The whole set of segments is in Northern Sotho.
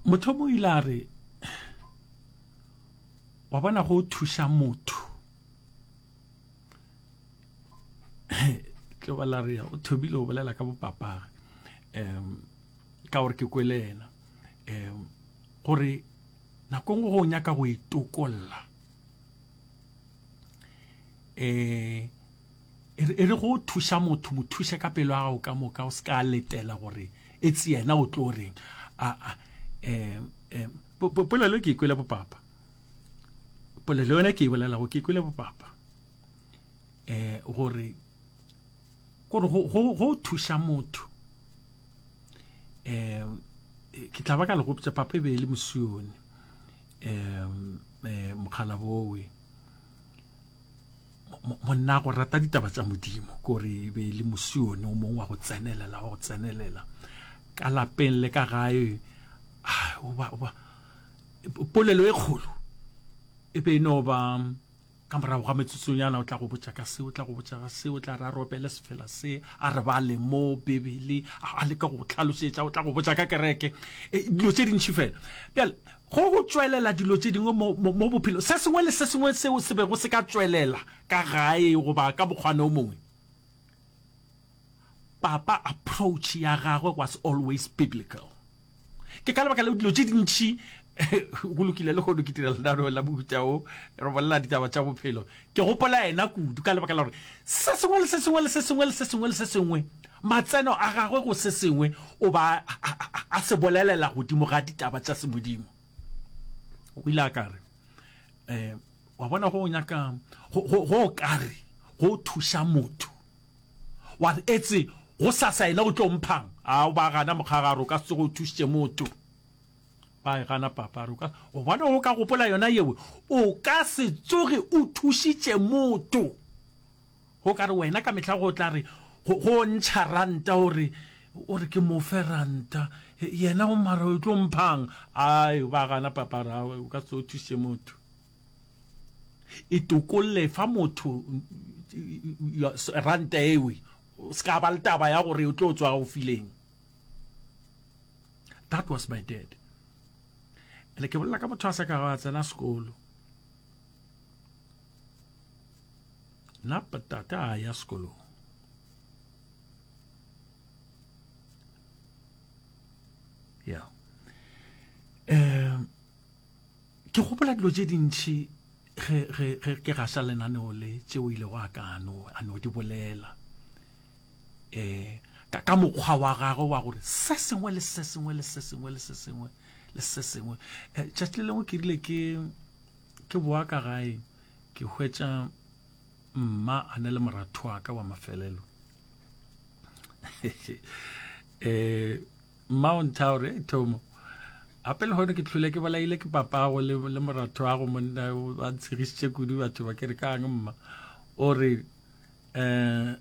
Motho o ile a re, wa bona go thuša motho tlo ba la re o thomile go bolela ka bopapage um ka gore ke kwele yena um gore nako nngwe go nyaka go itokolla um e re go thuša motho mo thuše ka pelo ya gago ka moka o se ka letela gore e tse yena o tlo reng a um polelo ke ikwele bopapa polelo yone ke e bolelago ke ikwele bopapa um gore kore go thuša motho um ke tla ba ka le gopotsa papa e be e le mosione um mokgalabowe monna go rata ditaba tša modimo kore e be e le mosione o mongwe wa go tsenelela wa go tsenelela ka lapeng le ka gae polelo e kgolo e be e no ba ka morago ga metsotsonyana o tla go botša ka se o tla go botša ka se o tla re a robele sefela se a re bale mo bibele a leka go tlhalosetša o tla go botša ka kereke e, dilo tše dintšhi fela bjale go go tšwelela dilo tše dingwe mo, mo, mo bophelo se sengwe le se sengwe seo se bego se ka tšwelela ka gae goba ka mokgwana o mongwe papa approach ya gagwe was always biblical Ke ka lebaka leo dilo tše dintši go lokile le kgono ke dira lenaneo la mohuta o re bolela ditaba tša bophelo ke gopola yena kudu ka lebaka la gore se sengwe le se sengwe le se sengwe le se sengwe le se sengwe matseno a gagwe go se sengwe o ba a se bolelela godimo ga ditaba tša semodimo o ile a ka re um wa bona go nyaka go kare go thuša motho Wa re, Etse, gosasa yena o tlo mphang? A o ba gana mokgagare, o ka se tsoge o thušitše motho. Ba e gana papa, a re, o ka, gobane o ka gopola yona yewe, o ka se tsoge o thušitše motho. Go ka re wena ka mehla go tla re, go, go ntšha ranta o re, o re ke mo fe ranta, yena o mara o tlo mphang? Ai, ba gana papa, a re, aowa, o ka se tsoge o thušitše motho. E tokolle fa motho ranta ewe o se ka ba le taba ya gore o tlo tswa o fileng. That was my dad. Ene ke bolela ka motho a sa ka a tsena sekolo. Nna tate a ya sekolong. Yeah. Um Ke gopola dilo tše dintši ge, ge, ge ke gaša lenaneo le tšeo ilego a ka a no, a no di bolela. E, ka, ka mokgwa wa gagwe wa gore se sengwe le se sengwe le se sengwe le se sengwe le se sengwe. E, tšatši le lengwe ke rile ke, ke boa ka gae, ke hwetša mma a ne le moratho wa ka wa mafelelo. E, Mma o ntha gore, Hei Thomo, gape lehono ke hlwele ke bolaile ke papago le, le moratho wago monna ba ntshegišitše kudu batho ba ke re kang mma. O re, um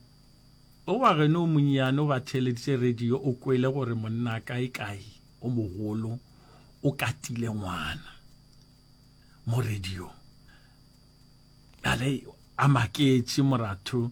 o wa geno o monnyane o ba theeleditše radio o kwele gore monna kae kae o mogolo o katile ngwana mo radio. Bjale a maketše moratho.